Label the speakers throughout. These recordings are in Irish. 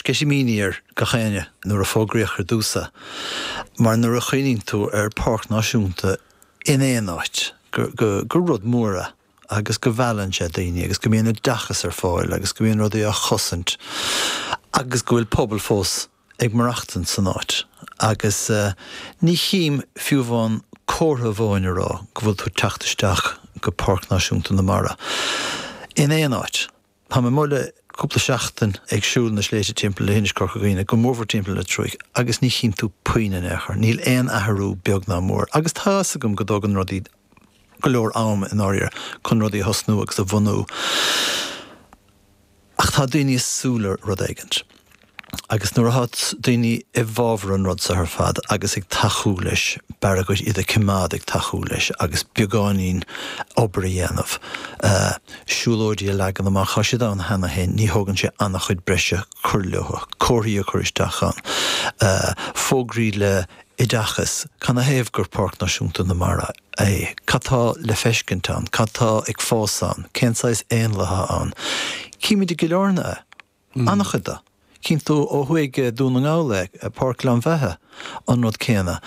Speaker 1: sceitimíní ar gach éinne nuair a fógraíodh ar dtús é, mar nuair a chuimhníonn tú ar pháirc náisiúnta in aon áit, gur rud mór é agus go mheallann sé daoine agus go mbíonn oideachas ar fáil agus go mbíonn rudaí á chosaint agus go bhfuil pobal fós ag maireachtaint san áit agus ní chím fiú amháin comhartha amháin a rá go bhfuil tú ag teacht isteach go Páirc Náisiúnta na Mara in aon áit. Tá mé amuigh le cúpla seachtain ag siúl na sléibhte timpeall leithinis Corca Dhuibhne, go mórmhór timpeall na Triúcha, agus ní chím tú puinn in aon chor. Níl aon athrú beag ná mór. Agus tá fhios agam go dtógann rudaí go leor am i ndáiríre chun rudaí a thosnú agus a bhunú. Ach tá daoine ag súil le rud éigint. Agus nuair atá daoine i bhfabhar an rud seo ar fad agus ag tacú leis, b'fhearr dhuit iad a choimeád ag tacú leis agus beagáinín obair a dhéanamh, siúlóidí a leagan amach, tá siad ann cheana féin, ní thógann sé an-chuid breise cur leo, comharthaí a chur isteach ann, fógraí le oideachas, canathaobh gur Páirc Náisiúnta na Mara é, cad tá le feiscint ann, cad tá ag fás ann, cén saghas éanlaith atá ann. Címid i gCill Airne é. An-chuid de. Cíonn tú ó thuaidh i Dún na nGall é, Páirc Ghleann Bheatha, an rud céanna.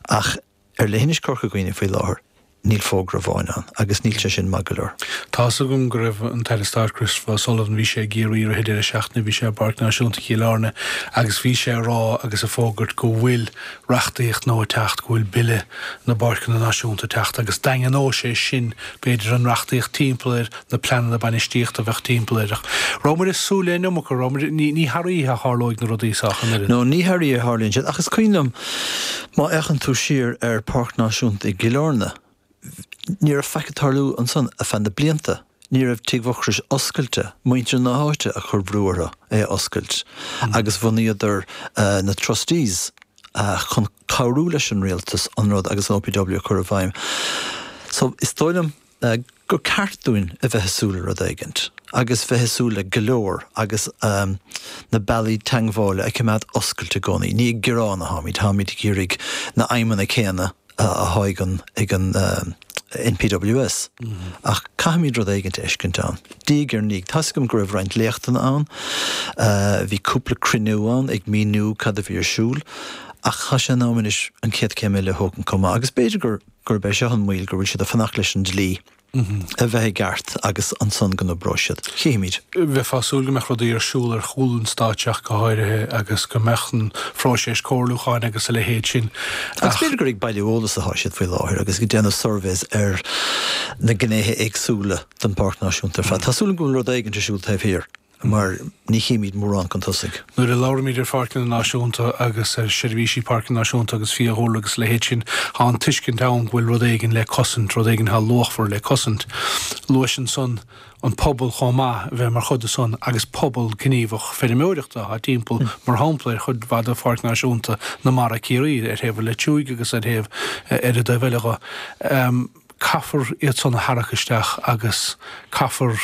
Speaker 1: Ach ar leithinis Corca Dhuibhne faoi láthair, níl fógra amháin ann, agus níl sé sin maith go leor.
Speaker 2: Tá's agam go raibh an tAire Stáit Christopher O'Sullivan, bhí sé i gCiarraí i rith an deireadh seachtaine, bhí sé i bPáirc Náisiúnta Chill Airne agus bhí sé ag rá agus ag fógairt go bhfuil reachtaíocht nua ag teacht, go bhfuil Bille na bPáirceanna Náisiúnta ag teacht agus daingneoidh sé sin b'fhéidir an reachtaíocht timpeall air, na pleananna bainistíochta a bheadh timpeall air. Ach raibh muid ag súil le an iomarca, raibh muid, ní, ní thar oíche a tharlóidh na rudaí seo ach an oiread.
Speaker 1: No, ní thar oíche a tharlaíonn siad. Ach is cuimhin liom, má fhéachann tú siar ar Páirc Náisiúnta i gCill Airne, ní raibh faic ag tarlú ansan ar feadh na blianta. Ní raibh Tigh Mhucrois oscailte, muintir na háite a chuir brú orthu é a oscailt agus bhunaíodar na trustees chun cabhrú leis an rialtas an rud agus an OPW a chur i bhfeidhm. So, is dóigh liom, gur ceart dúinn a bheith ag súil le rud éigint agus bheith ag súil le go leor agus na bealaí teagmhála a choimeád oscailte i gcónaí. Ní ag gearán atáimid, táimid ag iarraidh na aidhmeanna céanna atá ag an ag an NPWS. Ach caithfimid rud éigint a fheiscint ann. Diaidh ar ndiaidh. Tá's agam go raibh roinnt léachtanna ann, bhí cúpla cruinniú ann ag míniú cad a bhí ar siúl, ach tá sé in am anois an chéad chéim eile a thógaint chomh maith agus b'fhéidir gur gurb é seo an moill, go bhfuil siad ag fanacht leis an dlí a bheith i gceart agus ansan go n-oibreoidh siad. Chífimid.
Speaker 2: Bheifeá ag súil go mbeadh rudaí ar siúl ar chúl an stáitse ach go háirithe agus go mbeadh an phróiseas comhairliúcháin agus a leithéid sin
Speaker 1: Agus b'fhéidir gur ag bailiú eolas atá siad faoi láthair agus ag déanamh surveys ar na gnéithe éagsúla den Pháirc Náisiúnta ar fad. Tá súil agam go bhfuil rud éigin ar siúl taobh thiar. mar ní chímid mórán chun tosaigh.
Speaker 2: Nuair a labhraímid ar pháirceanna náisiúnta agus ar sheirbhísí páirce náisiúnta agus fiadhúlra agus a leithéid sin, tá an tuiscint ann go bhfuil rud éigin le cosaint, rud éigin atá luachmhar le cosaint. Luais ansan an pobal chomh maith a bheith mar chuid de san agus pobal gníomhach feirmeoireachta atá timpeall, mar shampla, ar chuid mhaith de Pháirc Náisiúnta na Mara, Ciarraí, ar thaobh an Leitriúigh agus ar thaobh ar an dtaobh eile dho. Caithfear iad san a tharrac isteach agus caithfear,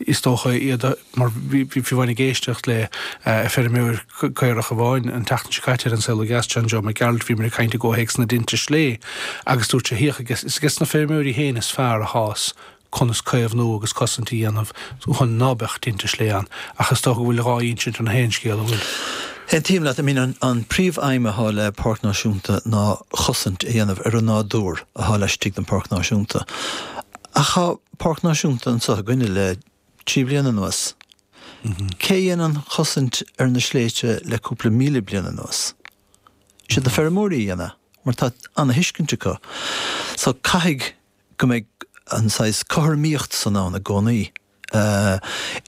Speaker 2: is dócha, iad a, mar bhí fiú amháin ag éisteacht le feirmeoir caorach amháin an tseachtain seo caite ar An Saol Ó Dheas, John Joe Mac Gearailt, bhíomar ag caint i gcomhthéacs na dtinte slé agus dúirt sé, thiocfadh, is aige na feirmeoirí féin is fearr atá's conas caomhnú agus cosaint a dhéanamh chun ná beadh tinte slé ann. Ach is dócha go bhfuil dhá insint ar an haon scéal, an bhfuil?
Speaker 1: Aontaím leat. I mean, an príomh-aidhm atá le Páirc Náisiúnta ná chosaint a dhéanamh ar an nádúr atá laistigh den Pháirc Náisiúnta. Ach tá Páirc Náisiúnta anseo againne le 3 bliana anuas. Cé a dhein an chosaint ar na sléibhte le cúpla míle bliain anuas? Is iad na feirmeoirí a dhein é, mar tá ana-thuiscint acu. So caithfidh go mbeidh an saghas cothromaíocht san ann i gcónaí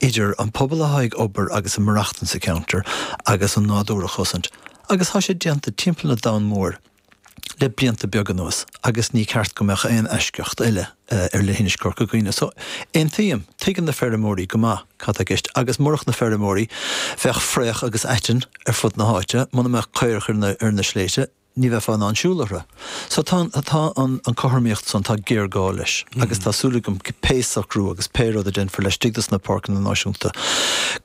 Speaker 1: idir an pobal atá ag obair agus ag maireachtaint sa cheantar agus an nádúr a chosaint. Agus tá sé déanta timpeall an domhain mhóir le blianta beaga anuas agus ní ceart go mbeadh aon eisceacht eile ar leithinis Chorca Dhuibhne. So, aontaím, tuigeann na feirmeoirí go maith cad tá i gceist agus murach na feirmeoirí bheadh fraoch agus aiteann ar fud na háite, muna mbeadh caorach ar na sléibhte, ní bheifeá in ann siúl orthu. So tá, tá an cothromaíocht san, tá géarghá leis agus tá súil agam pé socrú agus pé rud a déanfar laistigh dos na páirceanna náisiúnta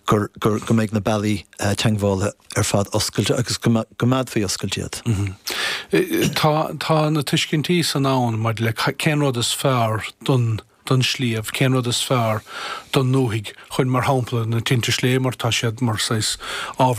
Speaker 1: gur, gur, go mbeidh na bealaí teagmhála ar fad oscailte agus go gcoimeádfaí oscailte iad.
Speaker 2: Tá, tá na tuiscintí san ann maidir le cén rud is fearr don, don sliabh, cén rud is fearr don ndúthaigh chun, mar shampla, na tinte slé mar tá siad mar saghas ábhar.